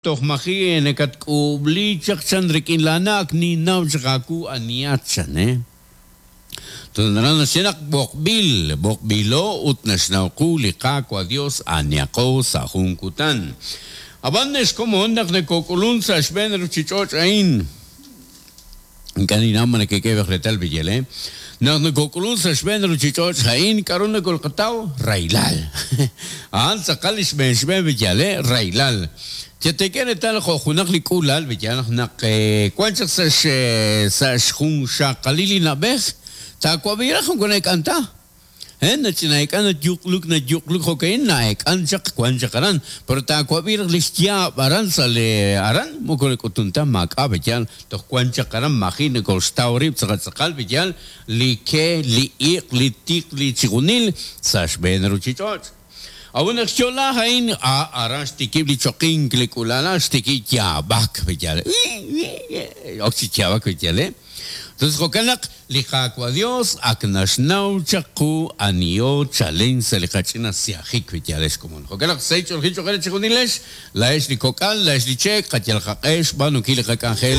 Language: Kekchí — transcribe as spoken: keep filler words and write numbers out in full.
Toj maji' nakatk'uub'li chaq chan rik'in laana' ak ninnaw chaq aawu anihat chan eh. Naraj naxye naq b'oqb'il, b'oqb'ilo ut naxnaw qu li Qaawa' Dios anihaqo sa' jun kutan. Ab'an ex komon naq nakok'ulunk sa' xb'een ruuchich'och' a'in, ink'a' ninnaw ma nekek'e reetal b'iyel eh. Naq nakok'ulunk sa' xb'een ruuchich'och' a'in k'aru nakolqataw? Rahilal. A'an tz'aqal li xb'een xb'een b'iyal eh, rahilal. Chetek'e reetal jo' junaq li k'uula'al b'iyal naq wan chaq sa' sa' xjunxaqalil li na'b'ej taawab'i raj moko na'ek'an ta. Eh, nach'ina'ek'an nayuq'luk nayuq'luk jo'ka'in na'ek'an chaq wan chaq aran. Pero taawab'i raj li xyaab' aran sa' li aran moko nak'utun ta maak'a' b'iyal toj wan chaq aran maji' nakolxtaw rib' tz'aqal tz'aqal b'iyal li ke, li iq', li tiq, li chijunil sa' xb'een ruuchich'och'. A'un naq xyo'la a'in a aran xtikib' li choqink li k'uula'al xtikib' yaab'ak b'iyal. Ok chi yaab'ak b'iyal eh. Entonces jo'kan naq li Qaawa' Dios ak naxnaw chaq qu aniho chalen sa' li qach'ina siajik b'iyal ex komon. Jo'kan naq sahil ch'oolejil cho'q re chijunilex, laa'ex li kok'al, laa'ex li cheek, qayal qaq'e xb'aanunkil li qak'anjel.